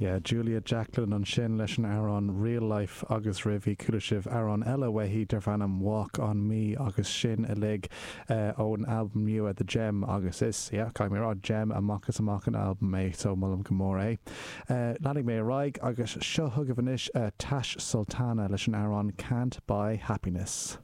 Yeah, Julia Jacklin ansin leis an amhrán Real Life agus roimhe chuala sibh amhrán eile uaithi darb ainm Walk On Me agus sin uilig ón albam nua The Gem agus is, yeah, caithfidh mé a rá, gem amach is amach an albam é so molaim go mór é. Leanfaidh mé ar aghaidh agus seo chugaibh anois Tash Sultana leis an amhrán Can't Buy Happiness.